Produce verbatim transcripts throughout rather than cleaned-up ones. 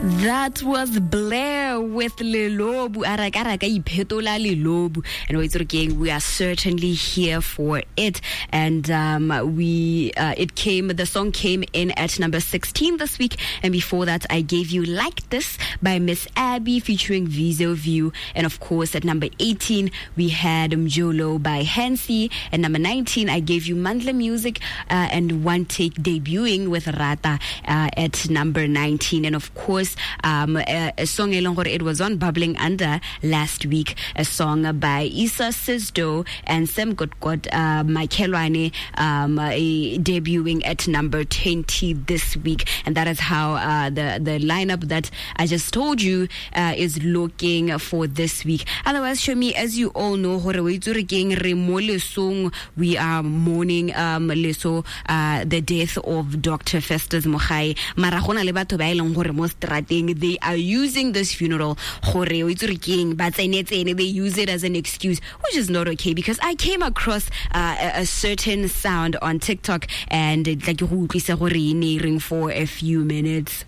That was Blair with Lelobu. Ara ka ra ka iphetola Lelobu. And wa itse gore ke eng, we are certainly here for it. And um, we uh, it came the song came in at number sixteen this week. And before that, I gave you Like This by Miss Abby featuring Vizo View. And of course, at number eighteen, we had Mjolo by Hansi. At number nineteen, I gave you Mandla Music uh, and One Take debuting with Rata uh, at number nineteen. And of course, um, a, a song e leng gore it was on Bubbling Under last week, a song by Issa Sisdo and Sam Gotkot uh, Michaelwane, um, uh, debuting at number twenty this week. And that is how uh, the, the lineup that I just told you uh, is looking for this week. Otherwise, show me, as you all know, gore o itse gore ke eng, re mo lesong, we are mourning um, leso, uh, the death of Doctor Festus Mogae. Mara go na le batho ba e leng gore mo strateng, they are using this funeral gore o itse gore ke eng, ba tsene tsene, they use it as an excuse, which is not okay, because I came across uh, a, a certain sound on TikTok and tla ke go utlwise gore e ne e reng for a few minutes.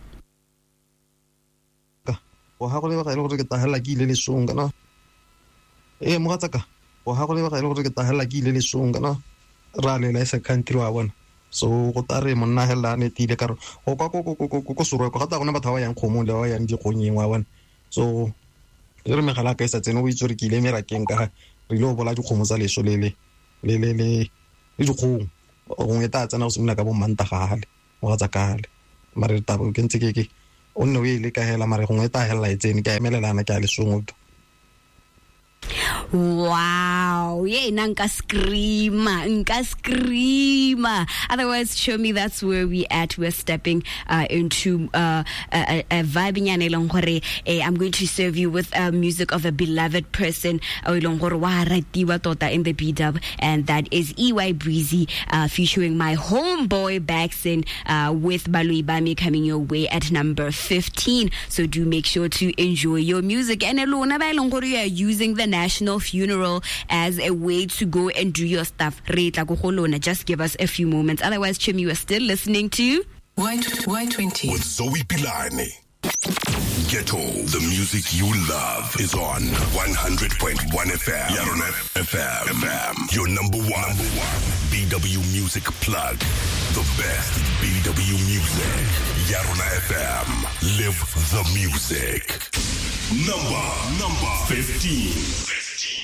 Wa ha go lebega e le gore ke tahela ke ile lesong kana. Ee, mogatsaka, wa ha go lebega e le gore ke tahela ke ile lesong kana. Ra lela e sa country wa bona. So go tare monna hela a netile ka re go kwa ko ko ko ko ko Soroko ga ta gona batho ba ba yang kgomong le ba ba yang dikgonyeng wa bona. So e re megala ka e sa tsene o itse gore ke ile merakeng ka ga re ile go bola dikgomo tsa leso le le le le le le dikgong. Gongwe e tla tsena go simolola ka bo Mantagale, mogatsakale. Mare taba ke ntse ke ke o nne o e leka hela mare gongwe e tla hela e tsene ke a emelelana ke a lesong. Wow. Yeah, nka scream, nka scream. Otherwise, show me that's where we at. We're stepping uh, into uh, a, a vibe nyana e leng gore, eh, I'm going to serve you with uh, music of a beloved person o e leng gore wa ratiwa tota in the B Dub, and that is E Y Breezy uh, featuring my homeboy Baxon uh, with Baloi Bami coming your way at number fifteen. So do make sure to enjoy your music. And lona ba e leng gore you are using the national funeral as a way to go and do your stuff. Re tla ko go lona. Just give us a few moments. Otherwise, Chim, you are still listening to Y twenty with Zoe Pilane. Ghetto, the music you love is on one hundred point one F M. Yarona F M. F M. Your number one. Number one B W music plug. The best B W music. Yarona F M. Live the music. Number, number fifteen.